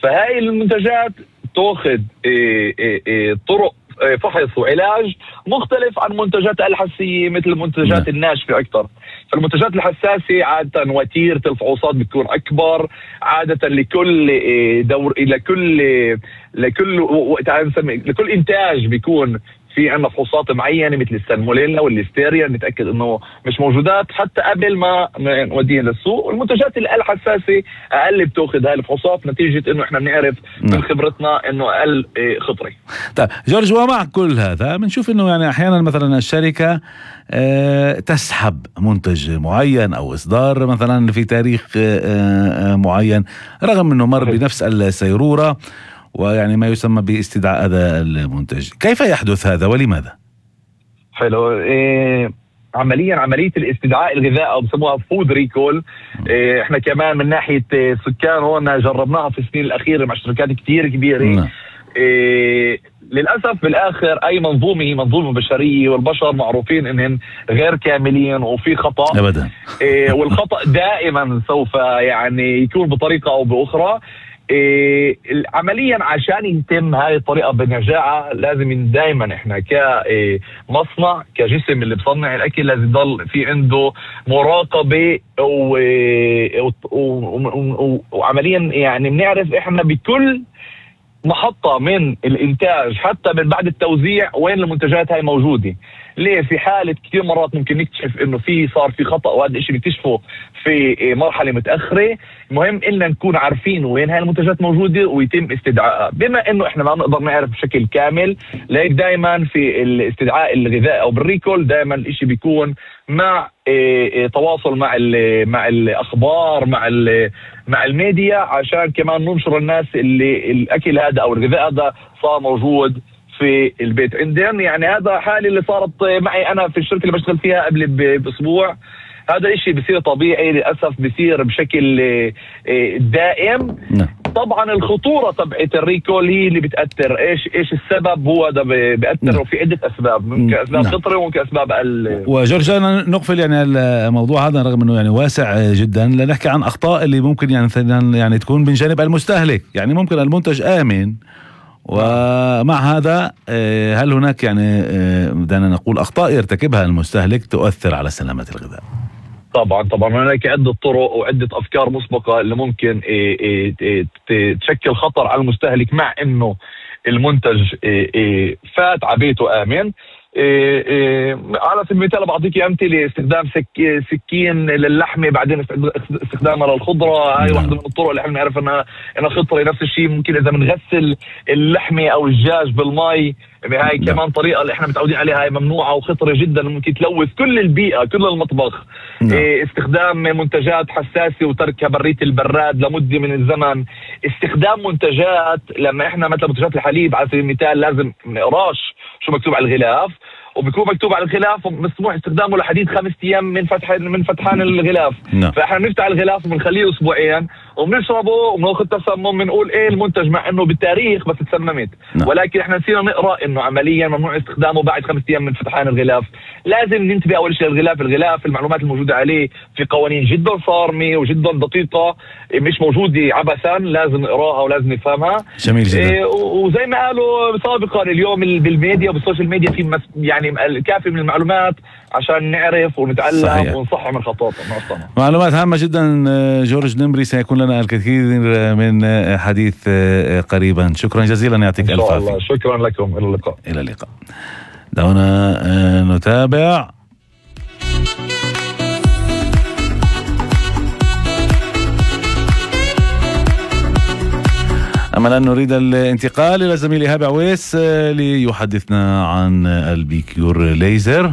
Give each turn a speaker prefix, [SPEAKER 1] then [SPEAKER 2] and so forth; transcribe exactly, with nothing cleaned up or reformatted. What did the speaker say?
[SPEAKER 1] فهاي المنتجات تأخذ طرق فحص وعلاج مختلف عن منتجات الحساسية مثل المنتجات الناشفة أكثر. فالمنتجات الحساسة عادة وتيرة الفحوصات بتكون أكبر، عادة لكل دور لكل لكل لكل إنتاج بيكون في عنا فحوصات معينة مثل السالمونيلا والليستيريا نتأكد انه مش موجودات حتى قبل ما نوديها للسوق. والمنتجات الحساسة اقل بتاخذ هاي الفحوصات نتيجة انه احنا بنعرف من خبرتنا انه اقل خطري.
[SPEAKER 2] طيب جورج، ومع كل هذا بنشوف انه يعني احيانا مثلا الشركة أه تسحب منتج معين او اصدار مثلا في تاريخ أه معين رغم انه مر بنفس السيرورة ويعني ما يسمى باستدعاء هذا المنتج. كيف يحدث هذا ولماذا؟
[SPEAKER 1] حلو. إيه عمليا عملية الاستدعاء الغذاء أو بسموها فود ريكول، إيه احنا كمان من ناحية سكان هون جربناها في السنين الأخيرة مع شركات كتير كبيرة. إيه للأسف بالآخر أي منظومة هي منظومة بشرية، والبشر معروفين إنهم غير كاملين وفي خطأ
[SPEAKER 2] أبدا.
[SPEAKER 1] إيه والخطأ دائما سوف يعني يكون بطريقة أو بأخرى. إيه عمليا عشان يتم هاي الطريقة بنجاعة لازم دائما احنا كمصنع كجسم اللي بصنع الاكل لازم يضل في عنده مراقبة وعمليا يعني بنعرف احنا بكل محطة من الانتاج حتى من بعد التوزيع وين المنتجات هاي موجودة. ليه؟ في حالة كثير مرات ممكن نكتشف انه في صار في خطأ وهذا الشيء نكتشفه في مرحلة متأخرة. مهم إننا نكون عارفين وين هاي المنتجات موجودة ويتم استدعائها. بما انه احنا ما نقدر نعرف بشكل كامل لذلك دائما في الاستدعاء الغذائي او بالريكول دائما الاشي بيكون مع إيه إيه تواصل مع مع الاخبار مع مع الميديا عشان كمان ننشر الناس اللي الاكل هذا او الغذاء هذا صار موجود في البيت عندهم. يعني هذا حالي اللي صارت معي انا في الشركة اللي بشتغل فيها قبل باسبوع. هذا الشيء بصير طبيعي للأسف بصير بشكل دائم. طبعا الخطورة تبعت الريكول هي اللي بتأثر. ايش ايش السبب؟ هو ده بيأثر وفي عدة اسباب، ممكن اسباب فطرية وممكن اسباب ال
[SPEAKER 2] وجورج نقفل يعني الموضوع هذا رغم انه يعني واسع جدا لنحكي عن اخطاء اللي ممكن يعني يعني تكون من جانب المستهلك. يعني ممكن المنتج آمن ومع هذا هل هناك يعني بدنا نقول أخطاء يرتكبها المستهلك تؤثر على سلامة الغذاء؟
[SPEAKER 1] طبعا طبعا هناك عدة طرق وعدة أفكار مسبقة اللي ممكن تشكل خطر على المستهلك مع إنه المنتج فات عبيته آمن. إيه إيه على سبيل المثال بعطيك أمثلة: استخدام سك سكين للحمة بعدين استخدامها للخضرة. هاي واحدة من الطرق اللي احنا نعرف انها انها خطرة. نفس الشيء ممكن اذا بنغسل اللحمة او الدجاج بالمي، هاي كمان طريقة اللي احنا متعودين عليها، هاي ممنوعة وخطرة جدا ممكن تلوث كل البيئة كل المطبخ. إيه استخدام منتجات حساسة وتركها برية البراد لمدة من الزمن. استخدام منتجات لما احنا مثلا منتجات الحليب على سبيل المثال لازم نقراش شو مكتوب على الغلاف، وبيكون مكتوب على الغلاف مسموح استخدامه لحديد خمس ايام من فتح من فتحان الغلاف. no. فاحنا بنفتح الغلاف وبنخليه اسبوعين وبنشربه وبناخذ تسمم بنقول ايه المنتج مع انه بالتاريخ بس تسممت. no. ولكن احنا نسينا نقرا انه عمليا ممنوع استخدامه بعد خمس ايام من فتحان الغلاف. لازم ننتبه اول شيء للغلاف. الغلاف المعلومات الموجوده عليه في قوانين جدا صارمه وجدا دقيقه مش موجوده عبثا، لازم نقراها ولازم نفهمها.
[SPEAKER 2] جميل جدا.
[SPEAKER 1] إيه وزي ما قالوا سابقا اليوم بالميديا وبالسوشيال ميديا في يعني الكافي من المعلومات عشان نعرف ونتعلم ونصحح من خطواتنا.
[SPEAKER 2] معلومات هامة جدا. جورج نمري سيكون لنا الكثير من حديث قريبا. شكرا جزيلا، يعطيك الف عافية.
[SPEAKER 1] شكرا لكم، إلى اللقاء.
[SPEAKER 2] إلى اللقاء. دعونا نتابع. أما الآن نريد الانتقال إلى زميلي هابع ويس ليحدثنا عن البيكيور ليزر.